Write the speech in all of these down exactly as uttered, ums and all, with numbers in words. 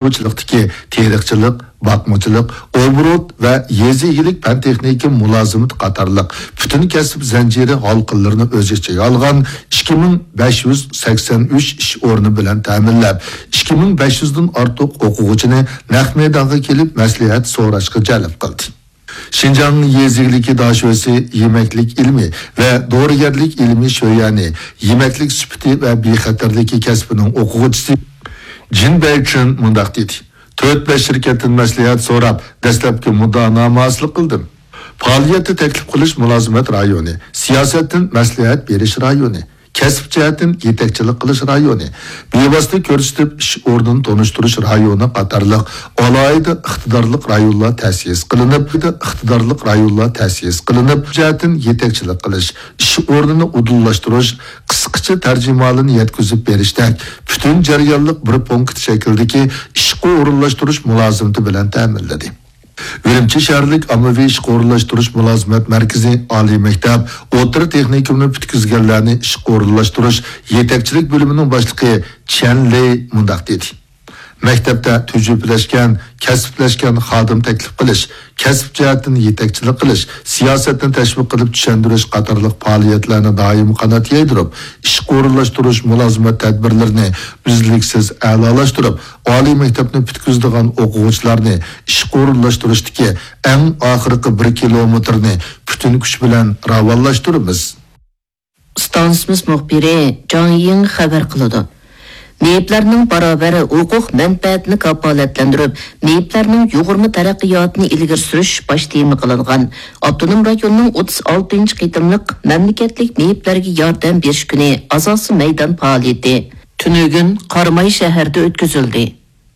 چارۋىچىلىقتىكى تېرىقچىلىق، باقمىچىلىق، ئوبوروت ۋە يېزا ئىگىلىك پەن-تېخنىكا مۇلازىمىتى قاتارلىق پۈتۈن كەسىپ زەنجىرى ھالقىلىرىنى ئۆز ئىچىگە ئالغان ئىككى مىڭ بەش يۈز سەكسەن ئۈچ ئىش ئورنى بىلەن تەمىنلەپ، ئىككى مىڭ بەش يۈزدىن ئارتۇق ئوقۇغۇچىنى نەق مەيدانغا كېلىپ مەسلىھەت سوراشقا جەلپ قىلدى. شىنجاڭ يېزا ئىگىلىكى داشۆسى يېمەكلىك ئىلمى ۋە دورىگەرلىك ئىلمى شۆيەنى يېمەكلىك سۈپىتى ۋە بىخەتەرلىكى كەسپىنىڭ ئوقۇغۇچىسى جىن بەيچىن مۇنداق دېدى: «تۆت-بەش شىركەتتىن مەسلىھەت سوراپ، دەسلەپكى مۇددىئانامە ھاسىل قىلدىم. پائالىيەتتە تەكلىپ قىلىش مۇلازىمەت رايونى، سىياسەتتىن مەسلىھەت بېرىش رايونى، كەسىپ جەھەتتىن يېتەكچىلىك قىلىش رايونى، بىۋاسىتە كۆرسىتىپ ئىش ئورنىنى تونۇشتۇرۇش رايونى قاتارلىق ئالاھىدە ئىقتىدارلىق رايونلار تەسىس قىلىنىپ، ئىقتىدارلىق رايونلار تەسىس قىلىنىپ، جەھەتتىن يېتەكچىلىك قىلىش، ئىش ئورنىنى ئۇدۇللاشتۇرۇش، قىسقىچە تەرجىمىھالىنى يەتكۈزۈپ بېرىشتەك پۈتۈن جەريانلىق بىر پونكىت شەكلىدىكى ئىشقا ئورۇنلاشتۇرۇش مۇلازىمىتى بىلەن تەمىنلىدى.» ئۈرۈمچى شەھەرلىك ئاممىۋى ئىشقا ئورۇنلاشتۇرۇش مۇلازىمەت مەركىزى ئالىي مەكتەپ، ئوتتۇرا تېخنىكومنى پۈتكۈزگەنلەرنى ئىشقا ئورۇنلاشتۇرۇش يېتەكچىلىك بۆلۈمىنىڭ باشلىقى چيەن لېي مۇنداق دېدى: «مەكتەپتە تۈجۈپىلەشكەن، كەسىپلەشكەن خادىم تەكلىپ قىلىش، كەسىپ جەھەتتىن يېتەكچىلىك قىلىش، سىياسەتنى تەشۋىق قىلىپ چۈشەندۈرۈش قاتارلىق پائالىيەتلەرنى دائىم قانات يايدۇرۇپ، ئىشقا ئورۇنلاشتۇرۇش مۇلازىمەت تەدبىرلىرىنى ئۈزلۈكسىز ئەلالاشتۇرۇپ، ئالىي مەكتەپنى پۈتكۈزىدىغان ئوقۇغۇچىلارنى ئىشقا ئورۇنلاشتۇرۇشتىكى ئەڭ ئاخىرقى بىر كىلومېتىرنى پۈتۈن كۈچ بىلەن راۋانلاشتۇرىمىز.» ئىستانسىمىز مۇخبىرى جاڭ يىڭ خەۋەر قىلىدۇ. مېيىپلەرنىڭ باراۋەر ھوقۇق مەنپەئەتىنى كاپالەتلەندۈرۈپ، مېيىپلەرنىڭ يۇغۇرما تەرەققىياتىنى ئىلگىرى سۈرۈش باش تېما قىلىنغان ئاپتونوم رايوننىڭ ئوتتۇز ئالتىنچى قېتىملىق مەملىكەتلىك مېيىپلەرگە ياردەم بېرىش كۈنى ئاساسىي مەيدان پائالىيىتى تۈنۈگۈن قاراماي شەھىرىدە ئۆتكۈزۈلدى.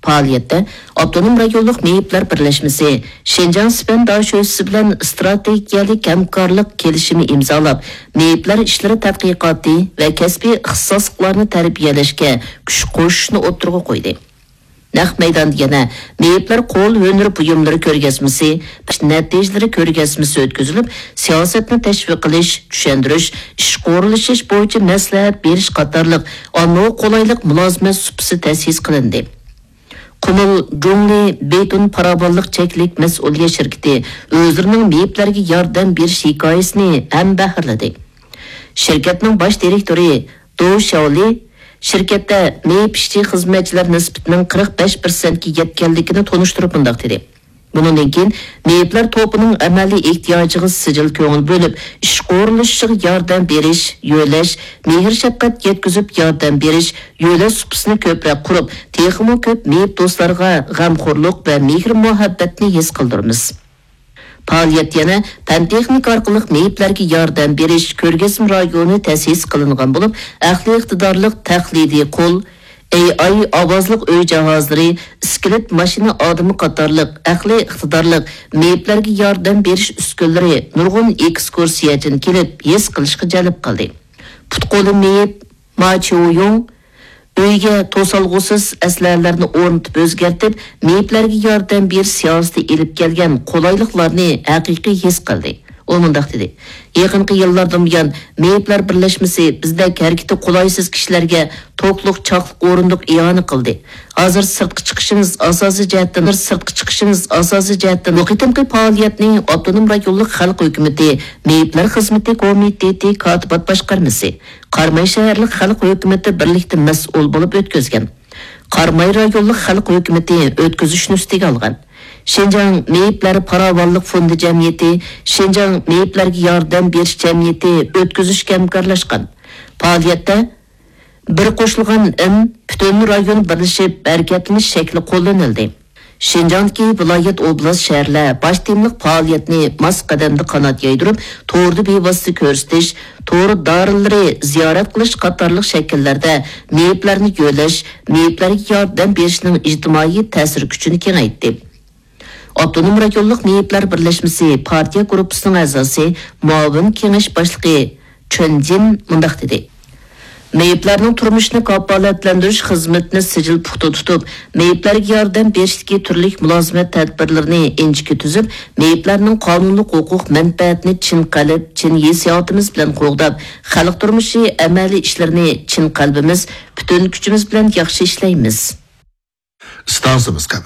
پائالىيەتتە ئاپتونوم رايونلۇق مېيىپلەر بىرلەشمىسى شىنجاڭ سىپەن داشۆسىسى بىلەن ئىستراتېگىيەلىك ھەمكارلىق كېلىشىمى ئىمزالاپ، مېيىپلەر ئىشلىرى تەتقىقاتى ۋە كەسپىي ئىختىساسلىقلارنى تەربىيەلەشكە كۈچ قوشۇشنى ئوتتۇرىغا قويدى. نەق مەيداندا يەنە مېيىپلەر قول ھۈنىرى بۇيۇملىرى كۆرگەزمىسى، نەتىجىلىرى كۆرگەزمىسى ئۆتكۈزۈلۈپ، سىياسەتنى تەشۋىق قىلىش، چۈشەندۈرۈش، ئىشقا ئورۇنلىشىش بويىچە مەسلىھەت بېرىش قاتارلىق ئاممىغا قولايلىق مۇلازىمەت سۇپىسى تەسىس قىلىندى. قۇمۇل جۇڭلى بېتون پاراۋانلىق چەكلىك مەسئۇلىيەت شىركىتى ئۆزلىرىنىڭ مېيىپلەرگە ياردەم بېرىش ھېكايىسىنى ھەمبەھىرلىدى. شىركەتنىڭ باش دىرېكتورى دو شياۋلى شىركەتتە مېيىپ ئىشچى خىزمەتچىلەر نىسبىتىنىڭ قىرىق بەش پىرسەنتكە يەتكەنلىكىنى تونۇشتۇرۇپ مۇنداق دېدى: «بۇنىڭدىن كېيىن مېيىپلەر توپىنىڭ ئەمەلىي ئېھتىياجىغا سىجىل كۆڭۈل بۆلۈپ، ئىشقا ئورۇنلىشىشىغا ياردەم بېرىش، يۆلەش، مېھىر-شەپقەت يەتكۈزۈپ ياردەم بېرىش، يۆلەش سۇپىسىنى كۆپرەك قۇرۇپ، تېخىمۇ كۆپ مېيىپ دوستلارغا غەمخورلۇق ۋە مېھىر-مۇھەببەتنى ھېس قىلدۇرىمىز.» پائالىيەت يەنە پەن-تېخنىكا ئارقىلىق مېيىپلەرگە ياردەم بېرىش كۆرگەزمە رايونى تەسىس قىلىنغان بولۇپ، ئەقلىي ئىقتىدارلىق تەقلىدىي قول، ئېي ئاي ئاۋازلىق ئۆي جاھازلىرى، ئىسكىلېت ماشىنا ئادىمى قاتارلىق ئەقلىي ئىقتىدارلىق مېيىپلەرگە ياردەم بېرىش ئۈسكۈنىلىرى نۇرغۇن ئېكسكۇرسىيەچىنى كېلىپ ھېس قىلىشقا جەلپ قىلدى. پۇت-قولى مېيىپ ما چيۇيۇڭ ئۆيگە توسالغۇسىز ئەسلىھەلەرنى ئورنىتىپ ئۆزگەرتىپ، مېيىپلەرگە ياردەم بېرىش سىياسىتى ئېلىپ كەلگەن قولايلىقلارنى ھەقىقىي ھېس قىلدى. ئۇ مۇنداق دېدى: «يېقىنقى يىللاردىن بۇيان، مېيىپلەر بىرلەشمىسى بىزدەك ھەرىكىتى قولايسىز كىشىلەرگە توكلۇق چاقلىق ئورۇندۇق ئىئانە قىلدى. ھازىر سىرتقا چىقىشىمىز ئاساسىي جەھەتتىن، سىرتقا چىقىشىمىز ئاساسىي جەھەتتىن بۇ قېتىمقى پائالىيەتنى ئاپتونوم رايونلۇق خەلق ھۆكۈمىتى مېيىپلەر خىزمىتى كومىتېتى كاتىبات باشقارمىسى، قاراماي شەھەرلىك خەلق ھۆكۈمىتى بىرلىكتە مەسئۇل بولۇپ ئۆتكۈزگەن. قاراماي رايونلۇق خەلق ھۆكۈمىتى ئۆتكۈزۈشنى ئۈستىگە ئالغان. شىنجاڭ مېيىپلەر پاراۋانلىق فوندى جەمئىيىتى، شىنجاڭ مېيىپلەرگە ياردەم بېرىش جەمئىيىتى ئۆتكۈزۈشكە ھەمكارلاشقان. پائالىيەتتە بىر قوشۇلغان ئىن پۈتۈن رايون بىرلىشىپ ھەرىكەتلىنىش شەكلى قوللىنىلدى. شىنجاڭدىكى ۋىلايەت، ئوبلاست، شەھەرلەر باش تېمىلىق پائالىيەتنى ماس قەدەمدە قانات يايدۇرۇپ، توردا بىۋاسىتە كۆرسىتىش، تور دارىلىرى زىيارەت قىلىش قاتارلىق شەكىللەردە مېيىپلەرنى يۆلەش، مېيىپلەرگە ياردەم بېرىشنىڭ ئىجتىمائىي تەسىر كۈچىنى كېڭەيتتى. ئاپتونوم رايونلۇق مېيىپلەر بىرلەشمىسى پارتىيە گۇرۇپپىسىنىڭ ئەزاسى، مۇئاۋىن كېڭەش باشلىقى چېن جىن مۇنداق دېدى: مېيىپلەرنىڭ تۇرمۇشىنى كاپالەتلەندۈرۈش خىزمىتىنى سىجىل پۇختا تۇتۇپ، مېيىپلەرگە ياردەم بېرىشتىكى تۈرلۈك مۇلازىمەت تەدبىرلىرىنى ئىنچىكە تۈزۈپ، مېيىپلەرنىڭ قانۇنلۇق ھوقۇق مەنپەئەتىنى چىن قەلب، چىن ھېسسىياتىمىز بىلەن قوغداپ، خەلق تۇرمۇشى ئەمەلىي ئىشلىرىنى چىن قەلبىمىز، پۈتۈن كۈچىمىز بىلەن ياخشى ئىشلەيمىز. ئىستانسىمىز قەبرە.